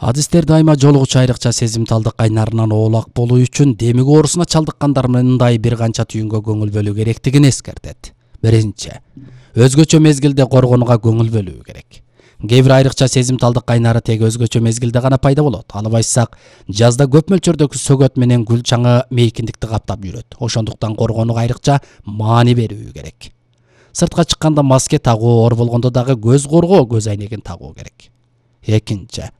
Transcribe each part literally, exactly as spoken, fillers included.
Адистер дайыма жолугучу айрыкча сезимталдык кайнарынан оолак болуу үчүн демик оорусуна чалдыккандар мындай бир канча түйүнгө көңүл бөлүү керектигин эскертет. Биринчи, өзгөчө мезгилде коргонууга көңүл бөлүү керек. Кээ бир айрыкча сезимталдык кайнары тек өзгөчө мезгилде гана пайда болот. Алып айтсак, жазда көп мөлчөрдөгү сөгөт менен гүл чаңы мейкиндикти каптап жүрөт. Ошондуктан коргонууга айрыкча маани берүү керек. Сыртка чыкканда маска тагуу, оор болгондо дагы көз коргоо көз айнегин тагуу керек. Экинчи,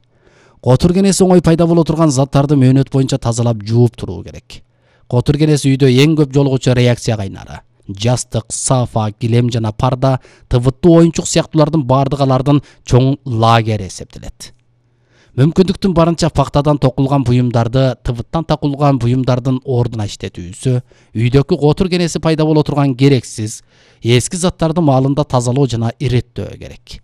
котур кенеси оңой пайда боло турган заттарды мөөнөт боюнча тазалап жууп туруу керек. Котур кенеси үйдө эң көп жолугучу реакция кайнары. Жастык, сафа, килем жана парда, тыбыттуу оюнчук сыяктуулардын бардыгы алардын чоң лагери эсептелет. Мүмкүндүктүн барынча пактадан токулган буюмдарды тыбыттан такулган буюмдардын ордуна иштетүүсү, үйдөгү котур кенеси пайда боло турган керексиз, эски заттарды маалында тазалоо жана иреттөө керек.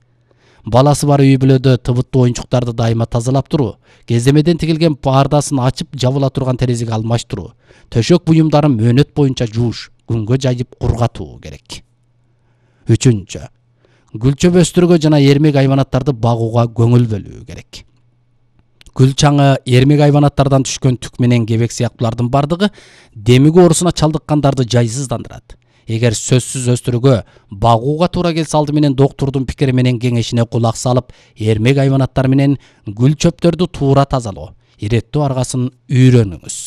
Баласы бар үй бүлөдө тыбыттуу оюнчуктарды дайыма тазалап туруу, кездемеден тигилген пардасын ачып жабыла турган терезеге алмаштыруу, төшөк буюмдарын мөөнөт боюнча жууш, күнгө жайып кургатуу керек. Үчүнчү, гүл чөп өстүрүүгө жана эрмек айванаттарды багууга көңүл бөлүү керек. Гүл чаңы, эрмек айванаттардан түшкөн түк менен кебек сыяктуулардын бардыгы демик оорусуна чалдыккандарды жайсыздандырат. Эгер сөзсүз өстүрүүгө багууга туура келсе, алды менен доктурдун пикири менен кеңешине кулак салып, эрмек айванаттар менен гүл чөптөрдү туура тазалоо, иреттөө аргасын үйрөнүңүз.